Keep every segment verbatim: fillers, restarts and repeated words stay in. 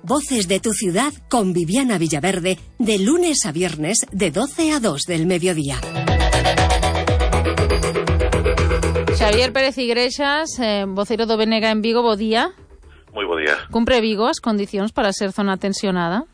Voces de tu ciudad con Viviana Villaverde, de lunes a viernes de doce a dos del mediodía. Xavier Pérez Igrexas, eh, voceiro do B N G en Vigo, bo día. Moi bo día. Cumpre Vigo as condicións para ser zona tensionada?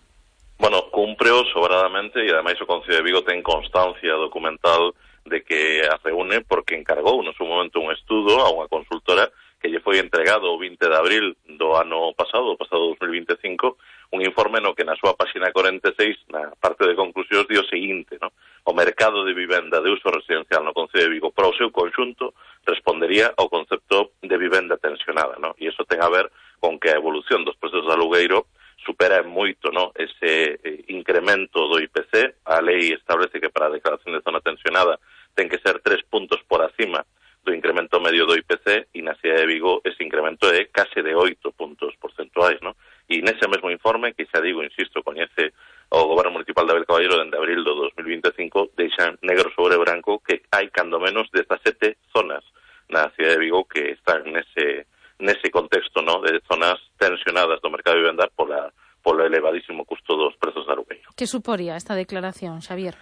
Bueno, cumpreo sobradamente e ademais o Concello de Vigo ten constancia documental de que a reúne porque encargou no seu momento un estudo a unha consultora que lle foi entregado o vinte de abril do ano pasado, o pasado dos mil vinte e cinco, un informe no que na súa páxina cuarenta e seis, na parte de conclusións, di o seguinte, no? O mercado de vivenda de uso residencial no Concello de Vigo, para o seu conxunto, respondería ao concepto de vivenda tensionada, no? E iso ten a ver con que a evolución dos prezos de alugueiro supera moito, no, ese eh, incremento do I P C. A lei establece que para a declaración de zona tensionada ten que ser tres puntos por acima do incremento medio do I P C, e na cidade de Vigo ese incremento é case de oito puntos porcentuais, no? E nese mesmo informe, que xa digo, insisto, coñece o Goberno Municipal de Abel Caballero dende abril do dos mil vinte e cinco, deixan negro sobre branco que hai cando menos dezasete zonas na cidade de Vigo que están nese nese contexto, no, de zonas tensionadas do mercado de vivenda pola polo elevadísimo custo dos prezos de alugueiro. Que suporía esta declaración, Xavier?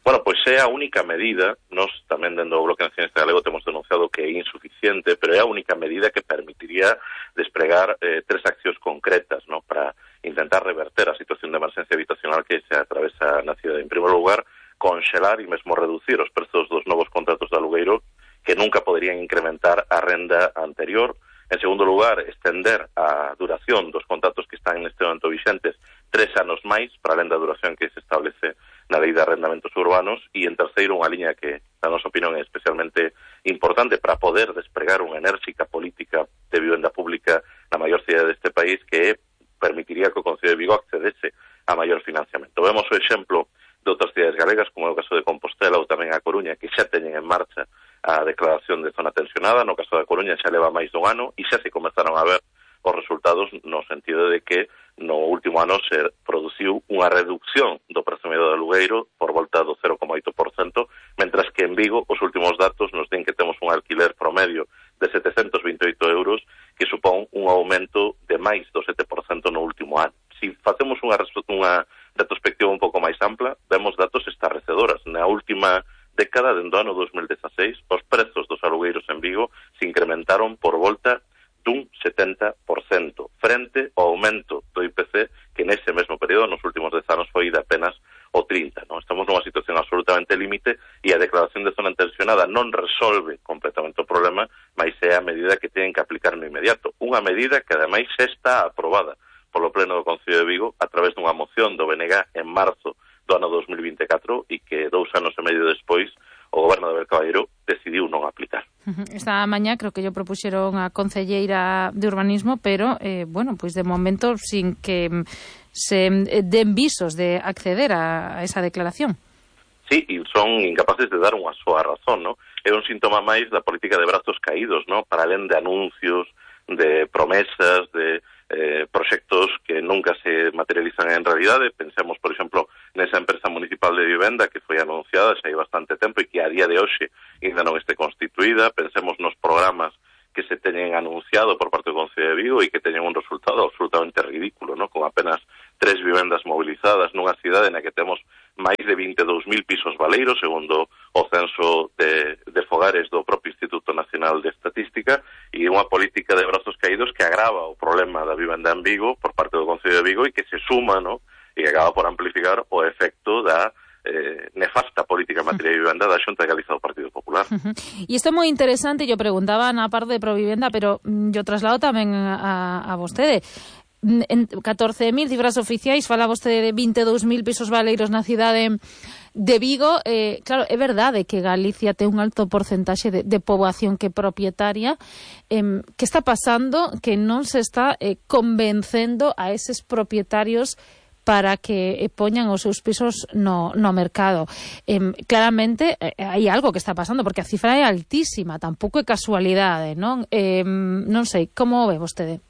Bueno, pois é a única medida, nós tamén dentro do Bloque Nacionalista Galego temos denunciado que é insuficiente, pero é a única medida que permitiría despregar eh, tres accións concretas, no, para intentar reverter a situación de emerxencia habitacional que se atravesa na cidade. En primeiro lugar, conxelar e mesmo reducir os prezos dos novos contratos de alugueiro que nunca poderían incrementar a renda anterior. En segundo lugar, estender a duración dos contratos que están neste momento vixentes tres anos máis, para além da duración que se establece na Lei de Arrendamentos Urbanos. E, en terceiro, unha liña que, na nosa opinión, é especialmente importante para poder despregar unha enérxica política de vivenda pública na maior cidade deste país, que permitiría que o Concello de Vigo accedese a maior financiamento. Vemos o exemplo de outras cidades galegas, como é o caso de Compostela ou tamén a Coruña, que xa teñen en marcha a declaración de zona tensionada. No caso da Coruña xa leva máis dun ano e xa se comezaron a ver os resultados, no sentido de que no último ano se produciu unha reducción do prezo medio do alugueiro por volta do cero coma oito por cento, mentras que en Vigo os últimos datos nos din que temos un alquiler promedio de setecentos vinte e oito euros, que supón un aumento de máis do sete por cento no último ano. Se facemos unha, unha retrospectiva un pouco máis ampla, vemos datos estarrecedoras. Na última década, dentro do ano dos mil dezaseis, os prezos dos alugueiros en Vigo se incrementaron por volta dun setenta por cento, frente ao aumento do I P C, que nese mesmo período, nos últimos dez anos, foi de apenas o trinta, non? Estamos nunha situación absolutamente límite e a declaración de zona tensionada non resolve completamente o problema, mas é a medida que teñen que aplicar no inmediato. Unha medida que, ademais, xa está aprobada polo Pleno do Concello de Vigo a través dunha moción do B N G en marzo do ano dos mil vinte e catro, e que dous anos e medio despois o Goberno de Abel Caballero decidiu non aplicar. Esta mañá creo que yo propuxeron a concelleira de urbanismo, pero, eh, bueno, pois de momento sin que se den visos de acceder a esa declaración. Sí, e son incapaces de dar unha súa razón, ¿no? É un síntoma máis da política de brazos caídos, ¿no? Para além de anuncios, de promesas, de eh, proxectos que nunca se materializan en realidade. Pensemos, por exemplo, nesa empresa municipal de vivenda que foi anunciada xa hai bastante tempo e que a día de hoxe ainda non este constituída. Pensemos nos programas que se teñen anunciado por parte do Concello de Vigo e que teñen un resultado absolutamente ridículo, ¿no? Con apenas tres vivendas movilizadas nunha cidade na que temos máis de vinte e dous mil pisos baleiros, segundo o censo de, de fogares do propio Instituto Nacional de Estatística, e unha política de brazos caídos que agrava o problema da vivenda en Vigo por parte do Concello de Vigo e que se suma, ¿no? E que acaba por amplificar o efecto da Eh, nefasta política en materia de vivenda da Xunta de Galiza do Partido Popular. Uh-huh. E isto é moi interesante, yo preguntaba na parte de Provivenda, pero mm, yo traslado tamén a, a vostede. En catorce mil cifras oficiais, fala vostede de vinte e dous mil pisos baleiros na cidade de Vigo. Eh, claro, é verdade que Galicia ten un alto porcentaxe de, de poboación que é propietaria. Eh, que está pasando? Que non se está eh, convencendo a eses propietarios para que poñan os seus pisos no, no mercado. Eh, claramente eh, hai algo que está pasando, porque a cifra é altísima, tampouco é casualidade, non? Eh, non sei, como ve vostede?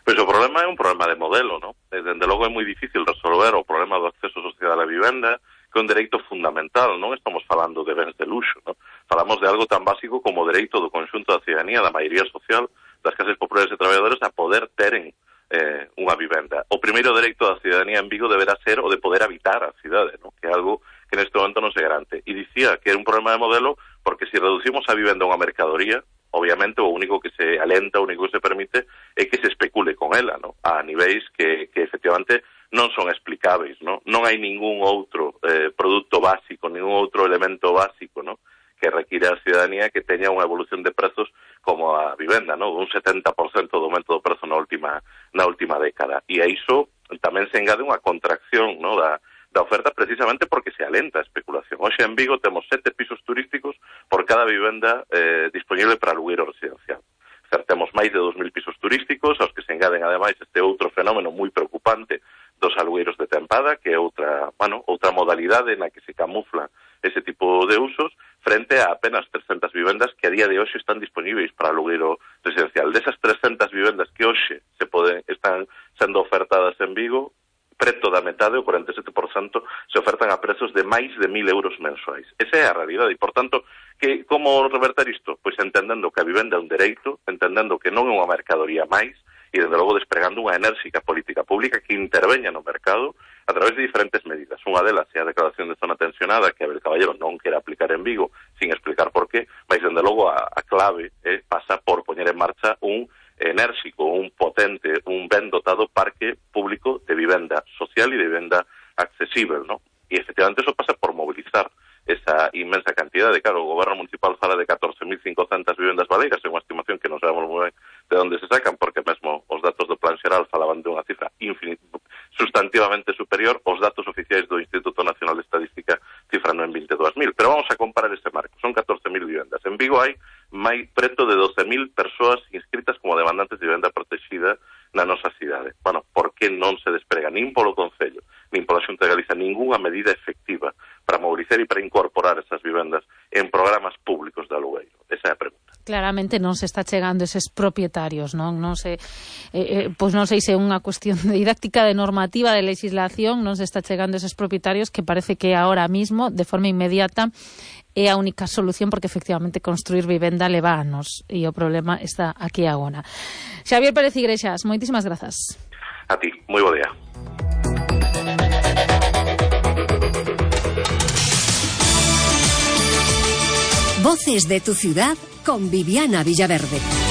Pois o problema é un problema de modelo, non? Dende logo é moi difícil resolver o problema do acceso social á vivenda, que é un dereito fundamental, non estamos falando de bens de luxo, non? Falamos de algo tan básico como o dereito do conxunto da ciudadanía, da maioría social, das clases populares e traballadores, a poder teren eh, unha vivenda. O primeiro dereito da cidadanía en Vigo deberá ser o de poder habitar a cidade, ¿no? Que é algo que neste momento non se garante. E dicía que é un problema de modelo porque se reducimos a vivenda a unha mercadoría, obviamente o único que se alenta, o único que se permite é que se especule con ela, ¿no? A niveis que, que efectivamente non son explicáveis, ¿no? Non hai ningún outro eh, produto básico, ningún outro elemento básico, ¿no? Que require a cidadanía que teña unha evolución de prezos como a vivenda, ¿no? Un setenta por cento do aumento do prezo na última na última década. E a iso tamén se engade unha contracción, ¿no? da, da oferta precisamente porque se alenta a especulación. Hoxe en Vigo temos sete pisos turísticos por cada vivenda eh, disponible para alugueiro residencial. Temos máis de dos mil pisos turísticos, aos que se engaden ademais este outro fenómeno moi preocupante dos alugueiros de tempada, que é outra, bueno, outra modalidade na que se camufla ese tipo de usos, frente a apenas trescentas vivendas que a día de hoxe están disponíveis para alugueiro residencial. Desas trescentas vivendas que hoxe se poden, están sendo ofertadas en Vigo, preto da metade, o cuarenta e sete por cento, se ofertan a prezos de máis de mil euros mensuais. Esa é a realidade, e, por tanto, que como reverter isto? Pois entendendo que a vivenda é un dereito, entendendo que non é unha mercadoría máis, e, desde logo, despregando unha enérxica política pública que interveña no mercado a través de diferentes medidas. Unha delas é a declaración de zona tensionada, que Abel Caballero non quere aplicar en Vigo, sin explicar por qué, mas, desde logo, a, a clave eh, pasa por poñer en marcha un enérxico, un potente, un ben dotado parque público de vivenda social e de vivenda accesible, ¿no? E, efectivamente, eso pasa por movilizar esa inmensa cantidad de, claro, o goberno municipal fala de catorce mil cincocentas vivendas baleiras, é unha estimación que non sabemos moi ben de onde se sacan, porque mesmo os datos do Plan Xeral falaban de unha cifra infinit, sustantivamente superior, os datos oficiais do Instituto Nacional de Estadística cifran en veinte e dúas mil, pero vamos a comparar ese marco, son catorce mil vivendas. En Vigo hai máis preto de doce mil persoas inscritas como demandantes de vivenda protegida na nosa cidade. Bueno, por que non se desprega nin polo Concello, nin pola Xunta de Galicia ningunha medida efectiva para mobilizar e para incorporar esas vivendas en programas públicos de alugueiro? Esa é a pregunta. Claramente non se está chegando eses propietarios, non? Non se, eh, eh, pois non sei se é unha cuestión de didáctica, de normativa, de legislación, non se está chegando eses propietarios que parece que ahora mismo, de forma inmediata, é a única solución, porque efectivamente construir vivenda leva anos e o problema está aquí agora. Xavier Pérez Igrexas, moitísimas grazas. A ti, moi bo día. Voces de tu ciudad con Viviana Villaverde.